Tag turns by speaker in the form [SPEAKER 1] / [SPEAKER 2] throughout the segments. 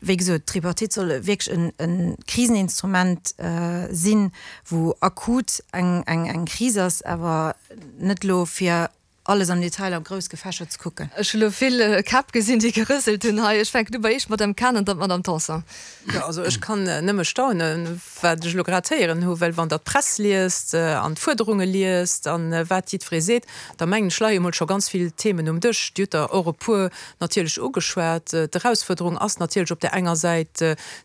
[SPEAKER 1] Wéi gesot, d'Tripartite soll wierklech e Kriseninstrument sinn, wou akut eng Kris ass, awer net elo fir alles am Detail a grouss gefächert ze kucken.
[SPEAKER 2] Ech hu lo vill Käpp gesinn, déi gerëselt hunn hei. Ech fänken u bei Iech, Madame Cahen, an dann d'Madame Tanson.
[SPEAKER 3] Jo, also ech kann nëmme staunen, wat ech elo grad héieren hu, well wann Der d'Press liest an d'Fuerderunge liest a wat jiddweree seet, da mengen ech, leie mol scho ganz vill Themen um Dësch. Dir hutt der och e puer natierlech ugeschwat. D'Erausfuerderung ass natierlech op där enger Säit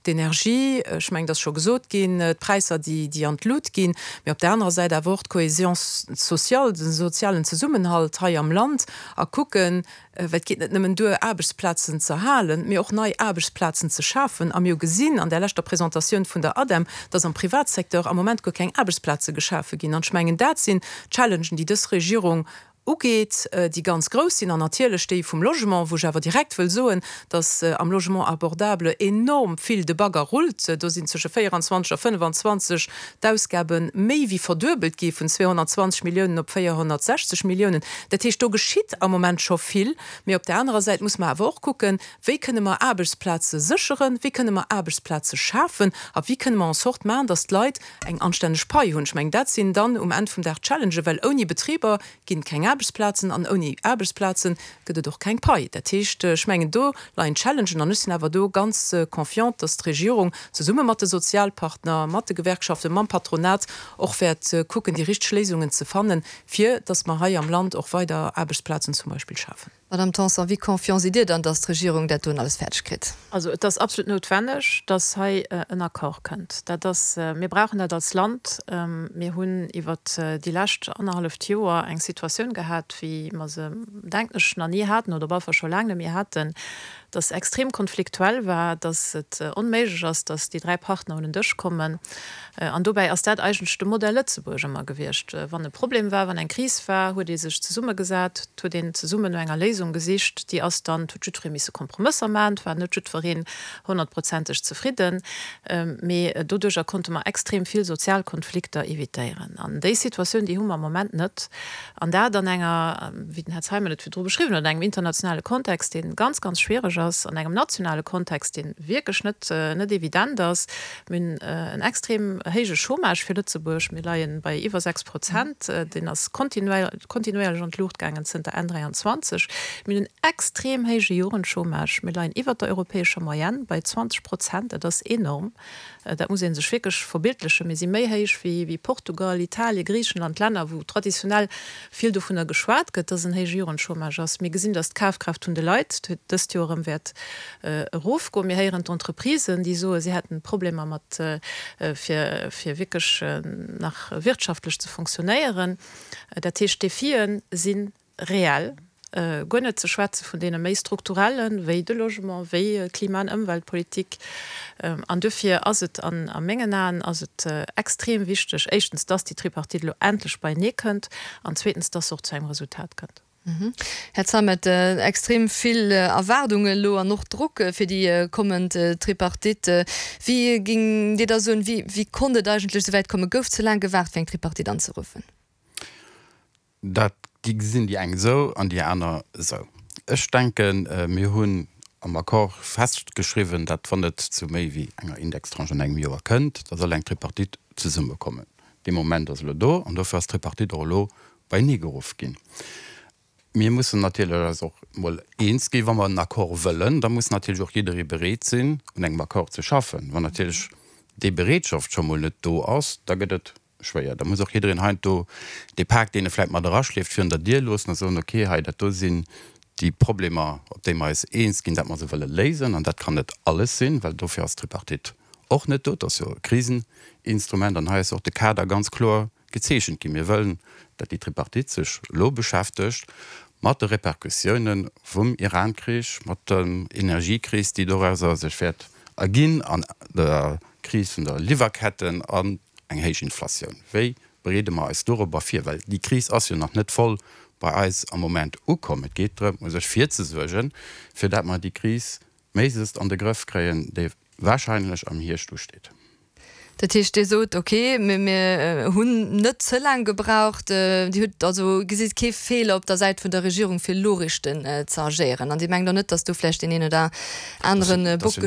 [SPEAKER 3] d'Energie, ech mengen, et ass scho gesot ginn, d'Präisser, déi an d'Lut ginn, mee op där anerer Säit awer och d'Cohésion sociale, de sozialen Zesummenhalt hei am Land a kucken, well et geet net nëmmen duer, Aarbechtsplazen z'erhalen, mee och nei Aarbechtsplazen ze schafen. A mir hu gesinn an där leschter Presentatioun vun der ADEM, dass am Privatsecteur am Moment guer keng Aarbechtsplaze geschafe ginn. An ech mengen, dat sinn Challengen, déi dës Regierung ugeet, déi ganz grouss sinn, an natierlech déi vum Logement, wou ech awer direkt wëll soen, dass am Logement abordable enorm vill de Bagger rullt. Do sinn zwësche 24 a 25 d'Ausgabe méi wéi verduebelt gi vun 220 Milliounen op 460 Milliounen. Dat heescht, do geschitt am Moment scho vill. Mee op där anerer Säit muss mer awer och kucken, Wéi kënne mer Aarbechtsplaze sécheren, wéi kënne mer Aarbechtsplaze schafen a wéi kënne mer en sorte maachen, dass d'Leit eng anstänneg Pai hunn? Ech mengen, dat sinn dann um Enn vum Dag d'Challengen, well ouni Betriber ginn et keng Aarbechtsplazen an ouni Aarbechtsplaze gëtt et och keng Pai. Dat heescht, ech mengen, do leien d'Challengen an ech sinn awer do ganz confiant, dass d'Regierung zesumme mat de Sozialpartner, mat de Gewerkschaften, mam Patronat och wäert kucken, déi richteg Léisungen ze fannen, fir dass mer hei am Land och weider Aarbechtsplazen zum Beispill schafen.
[SPEAKER 2] Madame Tanson, wéi confiant sidd Dir dann, dass d'Regierung dat doen alles fäerdeg kritt?
[SPEAKER 4] Also et ass absolut noutwenneg, dass hei en Accord kënnt. Dat ass, mir brauchen dat als Land. Mir hunn iwwert déi lescht annerhalleft Joer eng Situatioun gehat, wéi mer se, denken ech, nach ni haten oder op alle Fall scho laang net méi haten, dass extrem konfliktuell war, dass et onméiglech ass, dass déi 3 Partner un en Dësch kommen. An dobäi ass dat eigentlech de Modell Lëtzebuerg ëmmer gewiescht. Wann e Problem war, wann eng Kris war, huet ee sech zesummegesat, et huet een zesummen no enger Léisung gesicht. Déi ass dann, et huet jiddweree misse Kompromësser maachen, et war net jiddwereen honnertprozenteg zefridden, mee doduercher konnte mer extrem vill sozial Konflikter evitéieren. An déi Situatioun, déi hu mer am Moment net. An dat an enger, wéi den Här Zeimet et virdru beschriwwen huet, an engem internationale Kontext, dee ganz, ganz schwiereg ass, an engem nationale Kontext, dee wierklech net, net evident ass. Mir hunn en extrem héije Chômage fir Lëtzebuerg. Mir leie bei iwwer 6 Prozent. Deen ass kontinuéierlech an d'Luucht gaangen zënter Enn 23. Mir hunn en extrem héije Jugendchômage. Mir leien iwwert der europäescher Moyenne bei 20 Prozent. Dat ass enorm. Dat muss ee sech wierklech verbildlechen. Mir si méi héich wéi Portugal, Italien, Griichenland, Länner, wou traditionell vill dovunner geschwat gëtt, dass en héije Jugendchômage ass. Mir gesinn, dass d'Kafkraaft vun de Leit dëst Joer erëm wäert erofgoen. Mir héieren d'Entreprisen, déi soen, si hätten Problemer mat, fir wierklech nach wirtschaftlech ze fonctionnéieren. Dat heescht, d'Defie si reell, guer net ze schwätze vun deene méi strukturellen, wéi de Logement, wéi d'Klima an Ëmweltpolitik. An duerfir ass et an a mengen Aen ass et extrem wichteg, éischtens, dass déi Tripartite elo endlech beienee kënnt an zweetens, dass se och zu engem Resultat kënnt.
[SPEAKER 2] Här Zeimet, extrem vill Erwaardungen elo an och Drock fir déi kommend Tripartite. Wéi géing Dir da soen, wéi konnt et eigentlech esou wäit kommen? Gouf ze laang gewaart fir eng Tripartite anzeruffen?
[SPEAKER 5] Dat gesinn déi eng esou an déi aner esou. Ech denken, mir hunn am Accord festgeschriwwen, datt wann et zu méi wéi enger Indextranche an engem Joer kënnt, da soll eng Tripartite zesummekommen. Dee Moment ass elo do an dofir ass d'Tripartite och elo beienee geruff ginn. Mir mussen natierlech eis och emol eens ginn, wa mer en Accord wëllen, da muss natierlech och jidderee bereet sinn, un engem Accord ze schaffen. Wann natierlech déi Bereetschaft scho mol net do ass, da gëtt et schwéier. Da muss och jiddereen heiansdo dee Pak, deen e vläicht mat eraschleeft, virun der Dier loossen a soen, okay, hei dat do sinn déi Problemer, op déi mer eis eens ginn, dat mer se wëlle léisen. An dat kann net alles sinn, well dofir ass d'Tripartite och net do. Et ass jo e Kriseninstrument an hei ass och de Kader ganz kloer gezeechent ginn. Mir wëllen, datt déi Tripartite sech elo beschäftegt mat de Repercussioune vum Iran-Krich, mat der Energiekris, déi dorauser sech wäert erginn, an der Kris vun der Liwwerketten an eng héich Inflatioun. Wéi bereede mer eis dorobber vir? Well déi Kris ass jo nach net voll bei eis am Moment ukomm. Et geet drëm, u sech virzesuergen, fir dat mer déi Kris méiglechst an de Grëff kréien, déi wahrscheinlech am Hierscht usteet.
[SPEAKER 2] Dat heescht, Dir sot, okay, mir hunn net ze laang gebraucht. Dir hutt also gesitt kee Feeler op der Säit vun der Regierung, fir elo richten ze agéieren. An Dir mengt och net, datt do vläicht deen een oder anere Bock.